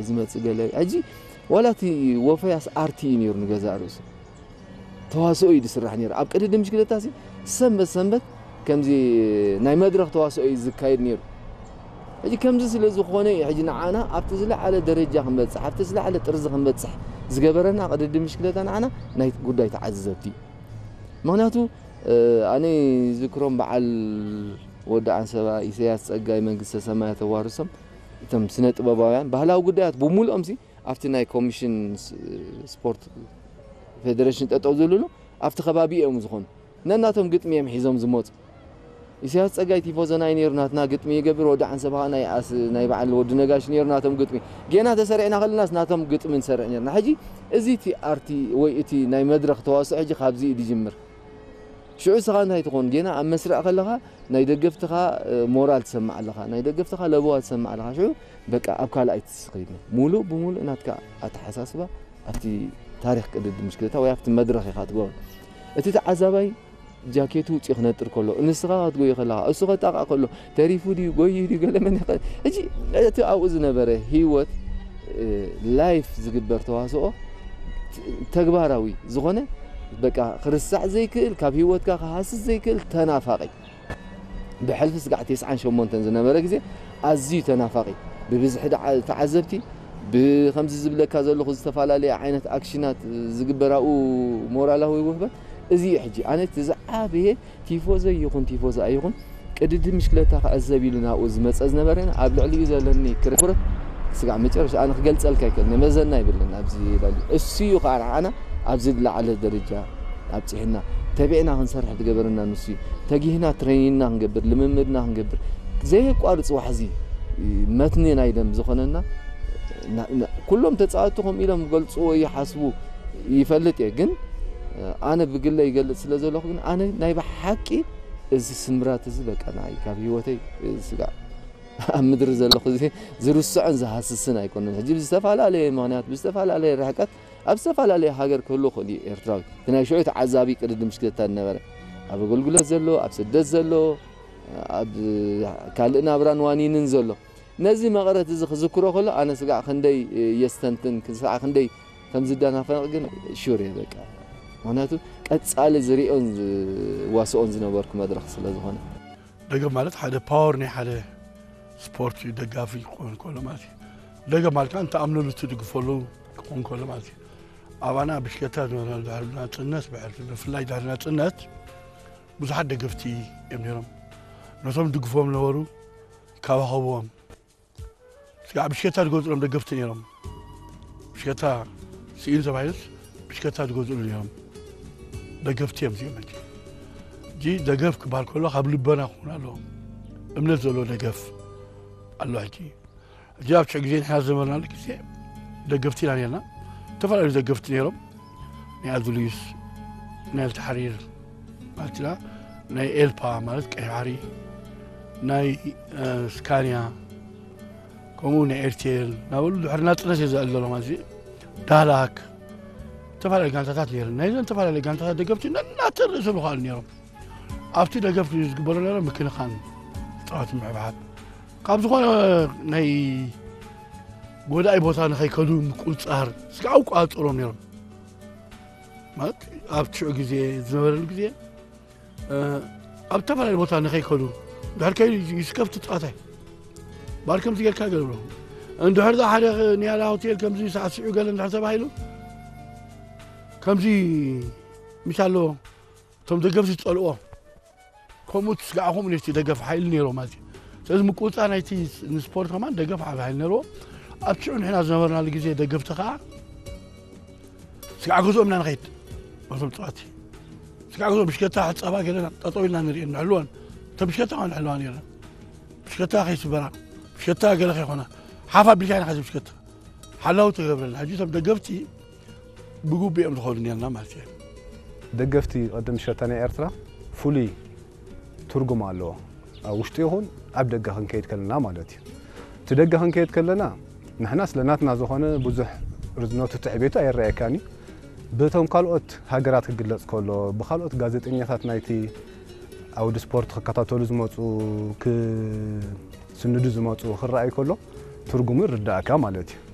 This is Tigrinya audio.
ዝመጽእ ገለ ሕጂ ዋላ እቲ ወፈያስ ኣርቲ እዩ ነይሩ ንገዛእ ርእሱ ተዋስኦ እዩ ዝስራሕ ነይሩ ኣብ ቅድድም ብሽክለታ ሲ ሰንበት ሰንበት ከምዚ ናይ መድረኽ ተዋስኦ እዩ ዝካየድ ነይሩ። ሕጂ ከምዚ ስለ ዝኾነ እዩ ሕጂ ንዓና ኣብቲ ዝለዓለ ደረጃ ክንበጽሕ ኣብቲ ዝለዓለ ጥርዚ ክንበጽሕ ዝገበረና ቅድድም ብሽክለታ ንዓና ናይ ጉዳይ ተዓዘብቲ እዩ። ምክንያቱ ኣነ ዝክሮም በዓል ወዲ ዓንሰባ ኢሳያስ ጸጋይ መንግስተ ሰማያት ተዋርሶም እቶም ስነ ጥበባውያን ባህላዊ ጉዳያት ብምሉኦም ሲ ኣብቲ ናይ ኮሚሽን ስፖርት ፌደሬሽን ጠጠው ዝብልሉ ኣብቲ ከባቢ እዮም ዝኾኑ ነናቶም ግጥሚ እዮም ሒዞም ዝመፁ። ኢሳያስ ጸጋይ ቲፎዞ ናይ ነይሩ ናትና ግጥሚ ይገብር ወዲ ዓንሰባ ናይ ኣስ ናይ በዓል ወዲ ነጋሽ ነይሩ ናቶም ግጥሚ ጌና ተሰሪዕና ከለናስ ናቶም ግጥሚ ንሰርዕ ነርና ሕጂ እዚ እቲ ኣርቲ ወይ እቲ ናይ መድረኽ ተዋስኦ ሕጂ ካብዚ እዩ ዝጅምር። ሽዑ ስኻ እንታይ ትኾን ጌና ኣብ መስርዕ ከለኻ ናይ ደገፍትኻ ሞራል ትሰምዕ ኣለኻ ናይ ደገፍትኻ ለበዋ ትሰምዕ ኣለኻ ሽዑ በቃ ኣብ ካልኣይ ትስኸይድ ሙሉእ ብሙሉእ ናትካ ኣተሓሳስባ ኣብቲ ታሪክ ቅድድም ምሽክለታ ወይ ኣብቲ መድረኽ ኢኻ ትገብሮ። እቲ ተዓዛባይ ጃኬቱ ውፅኡ ክነጥር ከሎ ንስኻ ክትጎዮ ከለኻ እሱ ከጣቕዕ ከሎ ተሪፉ ድዩ ጎዩ ድዩ ገለ መን ይኽእል ሕጂ እቲ ኣብኡ ዝነበረ ህይወት ላይፍ ዝግበር ተዋስኦ ተግባራዊ ዝኾነ በቃ ክርስዕ ዘይክእል ካብ ህይወትካ ክሃስስ ዘይክእል ተናፋቂ ብሕልፊ ስጋዕ ተስዓን ሸሞንተን ዝነበረ ግዜ ኣዝዩ ተናፋቂ ብብዝሒ ተዓዘብቲ ብከምዚ ዝብለካ ዘለኹ ዝተፈላለየ ዓይነት ኣክሽናት ዝግበራኡ ሞራላዊ ውህበት እዚ እዩ ሕጂ ኣነ እቲ ዝዓበየ ቲፎዘ ይኹን ቲፎዘ ኣይኹን ቅድድም ምሽክለታ ክዕዘብ ኢሉ ናብኡ ዝመፀ ዝነበረ ኣብ ልዕሊኡ ዘለኒ ክርክረት ስጋዕ መጨረሻ ኣነ ክገልፀልካ ይክእል መዘና ይብልን ኣብዚ ላሉ እሱ እዩ ከዓ ንዓና ኣብዚ ዝለዓለ ደረጃ ኣብፅሕና ተቢዕና ክንሰርሕ ዝገበረና ንሱ እዩ ተጊህና ትሬኒንና ክንገብር ልምምድና ክንገብር ዘየቋርፅ ዋሕዚ መትኒ ናይ ደም ዝኾነና ኩሎም ተፃወትቲ ከምኡ ኢሎም ገልፅዎ ይሓስቡ ይፈልጥ እየ ግን ኣነ ብግለ ይገልፅ ስለ ዘለኹ ግን ኣነ ናይ ብሓቂ እዚ ስምራት እዚ በቃ ንዓይ ካብ ህይወተይ ስጋዕ ኣብ ምድሪ ዘለኹ እዚ ዝርስዖን ዝሃስስን ኣይኮነን ሕጂ ብዝተፈላለየ ምክንያት ብዝተፈላለየ ርሕቀት ኣብ ዝተፈላለየ ሃገር ክህሉ ክእል እዩ ኤርትራዊ እቲ ናይ ሽዑ ተዓዛቢ ቅድድም ሽክለታ ዝነበረ ኣብ ኣገልግሎት ዘሎ ኣብ ስደት ዘሎ ኣብ ካልእ ናብራን ዋኒንን ዘሎ ነዚ መቐረት እዚ ክዝክሮ ከሎ ኣነ ስጋዕ ክንደይ የስተንትን ስጋዕ ክንደይ ከም ዝደናፈንቕ ግን ሹር እየ በቃ ምክንያቱ ቀጻሊ ዝሪኦን ዝዋስኦን ዝነበርኩ መድረኽ ስለ ዝኾነ ደገፍ ማለት ሓደ ፓወር ናይ ሓደ ስፖርት እዩ ደጋፊ ክኾን ከሎ ማለት እዩ ደገፍ ማለት ከዓ ንተኣምነሉ ትድግፈሉ ክኾን ከሎ ማለት እዩ ኣባና ብሽከታ ዝነበረ ድሕሪ ናፅነት ብሕልፊ ብፍላይ ድሕሪ ናፅነት ብዙሓት ደገፍቲ እዮም ነይሮም ነቶም ድግፎም ነበሩ ካባኸብዎም ስጋዕ ብሽከታ ዝገዝሎም ደገፍቲ ነይሮም ብሽከታ ስኢን ተባሂሉስ ብሽከታ ዝገዝእሉ ነይሮም ደገፍቲ እዮም እዚኦም ሕጂ እዚ ደገፍ ክበሃል ከሎ ካብ ልበና ክኾን ኣለዎ እምነት ዘለዎ ደገፍ ኣሎ ሕጂ ሕጂ ኣብ ሽዑ ግዜ ንሕና ዝነበርናሉ ግዜ ደገፍቲ ኢና ነርና ዝተፈላለዩ ደገፍቲ ነይሮም ናይ ኣዝሉዩስ ናይ ኣልተሓሪር ማለት ኢና ናይ ኤልፓ ማለት ቀይ ባሕሪ ናይ ስካንያ ከምኡ ናይ ኤርቴል ናበሉ ድሕሪ ናፅነት እየ ዘዕልሎ ማለት ዳላክ ዝተፈላለዩ ጋንታታት ነይረን ናይዘን ዝተፈላለዩ ጋንታታት ደገፍቲ ነናተን ርእሶም ይኽኣሉ ነይሮም ኣብቲ ደገፍ ዝግበሮ ነረ ምክንኻን ፃወት ምሕብሓብ ካብ ዝኾነ ናይ ጎዳኢ ቦታ ንኸይከዱ ምቁፅፃር ስጋዕ ኣቋፅሮም ነይሮም ማለት ኣብ ሽዑ ግዜ ዝነበረሉ ግዜ ኣብ ዝተፈላለዩ ቦታ ንኸይከዱ ድሕር ከይዱ ይስከፍቲ ፃዋታይ ባር ከምዚ ጌርካ ገብሮ እንድሕር ዛ ሓደ ንያላ ሆቴል ከምዚ ሳዕስዑ ገለ እንድሕር ተባሂሉ ከምዚ ሚስ ኣለዎ እቶም ደገፍቲ ዝፀልኦ ከምኡ ትስጋዕኹም ነቲ ደገፍ ሓይሊ ነይሮ ማለት እዩ ስለዚ ምቁፃ ናይቲ ንስፖርት ከማን ደገፍ ዓብ ሓይሊ ነይርዎ ኣብ ሽዑ ንሕና ዝነበርናሉ ግዜ ደገፍቲ ከዓ ስጋዕ ገዝኦም ኢና ንኸይድ በቶም ፀዋቲ ስጋዕ ገዝኦም ብሽከታ ሕፀባ ገለና ጠጠው ኢልና ንሪኦ ንሕልወን እተ ብሽከታ ከዓ ንሕልዋ ነይረን ብሽከታ ከይስበራ ብሽከታ ገለ ከይኮና ሓፍ ኣቢልካ ኢና ከዚ ብሽከታ ሓላው ትገብረልና ሕጂ እቶም ደገፍቲ ብግቡእ እዮም ዝኸዱ ነርና ማለት እዩ ደገፍቲ ቅድም ሸታ ናይ ኤርትራ ፍሉይ ትርጉም ኣለዎ ኣብ ውሽጢ ይኹን ኣብ ደገ ክንከይድ ከለና ማለት እዩ እቲ ደገ ክንከይድ ከለና ንሕና ስለ ናትና ዝኾነ ብዙሕ ርዝነቱ ትዕቤቱ ኣይረኣየካን እዩ ብቶም ካልኦት ሃገራት ክግለጽ ከሎ ብካልኦት ጋዜጠኛታት ናይቲ ኣውዲ ስፖርት ክከታተሉ ዝመፁ ክስንዱ ዝመፁ ክረኣይ ከሎ ትርጉሙ ይርዳእካ ማለት እዩ